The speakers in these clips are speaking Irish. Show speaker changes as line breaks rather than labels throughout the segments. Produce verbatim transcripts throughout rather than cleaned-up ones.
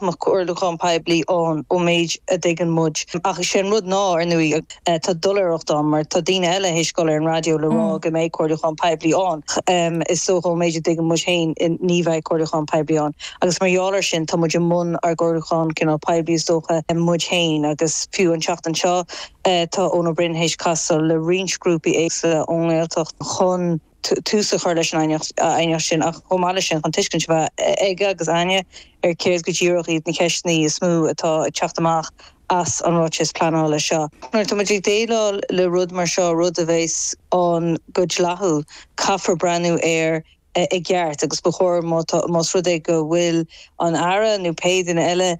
mbeadh comhairliúchán poiblí ann ón méid a dtuigeann muid. Ach is é an rud ná, ar ndóigh, tá doiléireacht ann mar tá daoine eile théis dul ar an raidió le rá go mbeidh comhairliúchán poiblí ann. Is dócha ón méid a dtuigeann muid féin ní bheidh comhairliúchán poiblí ann. Agus mar gheall air sin tá muid i mbun ár gcomhairliúchán cineál poiblí is dócha muid féin agus fiú an tseachtain seo tá Eoin Ó Broin théis casadh le roinnt grúpaí éagsúla ón nGaeltacht chun tús a chur leis an aighneacht sin ach chomh maith leis sin chun tuiscint a bheith aige agus againne ar céard go díreach iad na ceisteanna is mó atá ag teacht amach as an ráiteas pleanála seo. Nuair atá muid ag déileáil le rud mar seo, rud a bheas ann go dleathúil, caithfear breathnú air i gceart agus ba chóir más rud é go bhfuil an Aire nó pé duine eile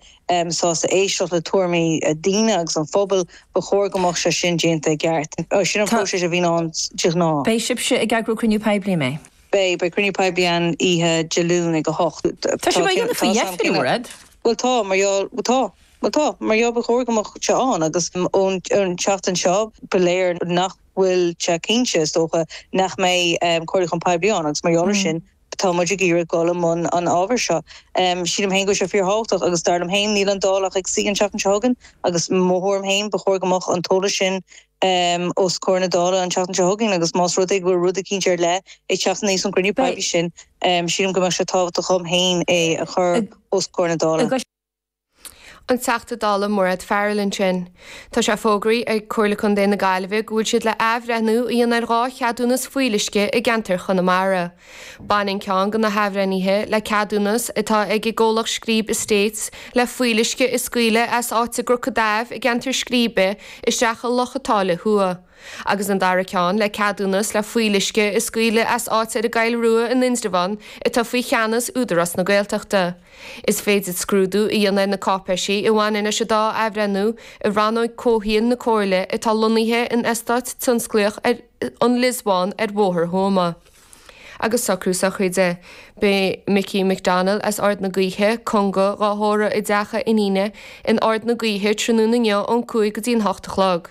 sásta éisteacht le tuairimí daoine agus an phobail, ba chóir go mbeadh sé sin déanta i gceart. Sin an próiseas a bhíonn ann de ghnáth.
Beidh sibhse ag eagrú cruinniú poiblí, an mbeidh?
Beidh, beidh cruinniú poiblí ann oíche Dé Luain ag a hocht.
Tá sibh á dhéanamh faoi dheifir, a Mhairéad?
Bhuel tá, mar gheall, tá, bhuel tá, mar gheall ba chóir go mbeadh sé ann agus ón tseachtain seo ba léir nach bhfuil sé cinnte, is dócha, nach mbeidh comhairliúchán poiblí ann agus mar gheall air sin tá muid ag iarraidh dul i mbun an ábhair seo. Sílim féin go bhfuil sé fíorthábhachtach agus dar liom féin níl an Dáil ach ag suí an tseachtain seo chugainn agus mo thuairim féin ba chóir go mbeadh an t-eolas sin os comhair na Dála an tseachtain seo chugainn agus más rud é go bhfuil rud eicínt ar leith ag teacht aníos ón gcruinniú poiblí sin sílim go mbeadh sé tábhachtach dhom féin é a chur os comhair na Dála.
An Teachta Dála Mairéad Farrell ansin. Tá sé fógraithe ag Comhairle Contae na Gaillimhe go bhfuil siad le athbhreithniú a dhéanamh ar dhá cheadúnas fuíolluisce i gceantar Chonamara. Baineann ceann de na hathbhreithnithe le ceadúnas atá ag an gcomhlacht Scríb Estates le fuíolluisce a scaoileadh as áit i gCnoc an Daimh i gceantar Scríbe isteach i Loch an tSáile Thuaidh. Agus an dara ceann le ceadúnas le fuíolluisce a scaoileadh as áit ar an gCoill Rua in Indreabhán atá faoi cheannas Údarás na Gaeltachta. Is féidir scrúdú a dhéanamh ar na cáipéisí a bhaineann leis an dá athbhreithniú i Rannóg Comhshaoil na Comhairle atá lonnaithe in Eastát Tionsclaíoch an Lios Bhán ar Bhóthar Thuama. Agus socrú sochraide. Beidh Mickey McDonnell as Ard na Gaoithe, Conga, dhá thórramh i dteach a iníne in Ard na Gaoithe tráthnóna inniu ón cúig go dtí an hocht a chlog.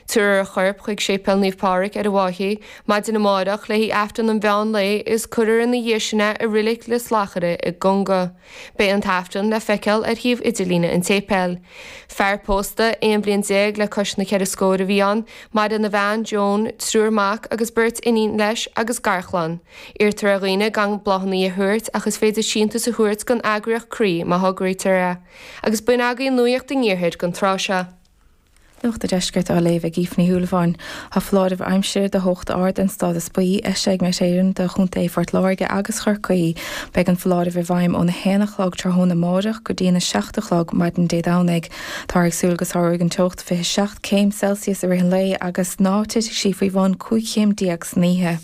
Tabharfar a chorp chuig Séipéal Naomh Pádraig ar an bhFaiche maidin amárach le haghaidh Aifreann an mheán lae is cuirfear ina dhiaidh sin é i Reilig Lios Lachaire i gConga. Beidh an tAifreann le feiceáil ar shuíomh idirlíne an tséipéil. Fear pósta aon bhliain déag le cois na ceithre scór a bhí ann, maireann a bhean, Joan, triúr mac agus beirt iníon leis agus garchlann. Iarrtar ar dhaoine gan bláthanna a thabhairt ach is féidir síntiús a thabhairt don eagraíocht Croí má thograítear é. Agus b'in agaibh nuacht an iarthair don tráth seo.
Nuacht an Deiscirt á léamh ag Aoife Ní Shúilleabháin. Tá foláireamh aimsire de theocht ard den stádas buí eisithe ag Met Éireann do Chontae Phort Láirge agus Chorcaí. Beidh an foláireamh i bhfeidhm óna haon a chlog tráthnóna amárach go dtí an a seacht a chlog maidin Dé Domhnaigh. Táthar ag súil go sáróidh an teocht fiche seacht céim Celsius i rith an lae agus ná titfidh sí faoi bhun cúig chéim déag san oíche.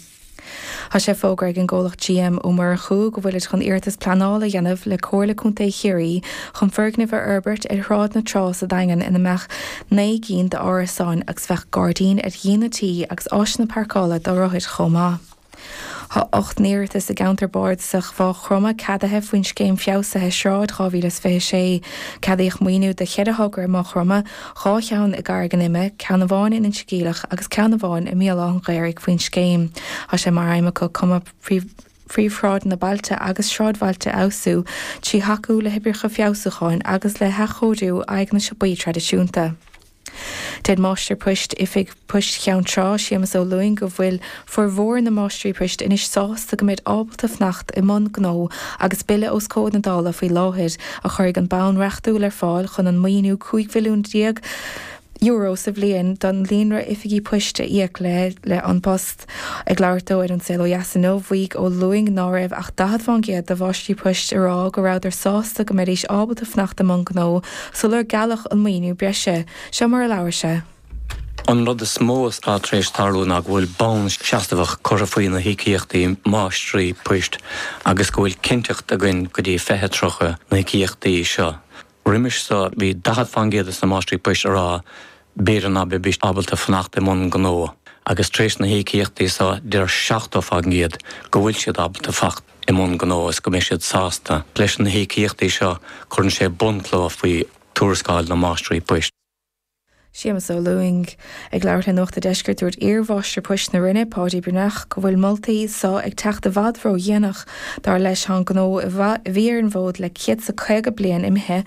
Tá sé fógartha ag an gcomhlacht GM Ó Murchú go bhfuilid chun iarratas pleanála a dhéanamh le Comhairle Contae Chiarraí chun foirgneamh a fhorbairt ar Shráid na Trá sa Daingean ina mbeadh naoi gcinn d'árasáin agus bheadh gairdín ar dhíon an tí agus áiseanna páirceála do rothair chomh maith. Tá ocht n-iarratas i gceantar bardasach Mhaigh Chromtha ceadaithe faoin Scéim Feabhsaithe Sráid dhá mhíle is fiche a sé. Ceadaíodh maoiniú do cheithre thogra i Maigh Chromtha, dhá cheann i gCarraig an Ime, ceann amháin in Inse Geimhleach agus ceann amháin i mBéal Átha an Ghaorthaidh faoin scéim. Tá sé mar aidhm acu cuma phríomhshráideanna bailte agus sráidbhailte a fheabhsú trí thacú le hoibreacha feabhsúcháin agus le hathchóiriú aghaidheanna siopaí traidisiúnta. Deir Máistir Poist Oifig Poist Cheann Trá, Séamus Ó Lúing, go bhfuil formhór na máistrí poist anois sásta go mbeid ábalta fanacht i mbun gnó agus bille os comhair na Dála faoi láthair a chuirfidh an bonn reachtúil ar fáil chun an maoiniú cúig mhilliún déag euro sa bhliain don líonra oifigí poist a íoc le le An Post. Ag labhairt dó ar An Saol Ó Dheas inniu, mhaígh Ó Lúing ná raibh ach daichead fán gcéad de mháistrí poist ag rá go rabhadar sásta go mbeidís ábalta fanacht i mbun gnó sular gealladh an maoiniú breise. Seo mar a labhair sé.
An rud is mó atá tar éis tarlú ná go bhfuil bonn seasmhach curtha faoi na híocaíochtaí máistrí poist agus go bhfuil cinnteacht againn go dtí fiche tríocha na híocaíochtaí seo. Roimis seo bhí daichead fán gcéad de na máistrí poist ag rá b'fhéidir ná beidís ábalta fanacht i mbun gnó agus tar éis na híocaíochtaí seo deir seachtó fán gcéad go bhfuil siad ábalta fanacht i mbun gnó is go mbeidh siad sásta. Leis na híocaíochtaí seo cuireann sé bunchloch faoi tuarascáil na máistrí poist.
Séamus Ó Lúing ag labhairt le Nuacht an Deiscirt dúirt iarmháistir poist na Roinne Páidí Breathnach go bhfuil moltaí so ag teacht i bhfad ródhéanach dar leis an gnó a bhí ar an bhfód le céad is caoga bliain imithe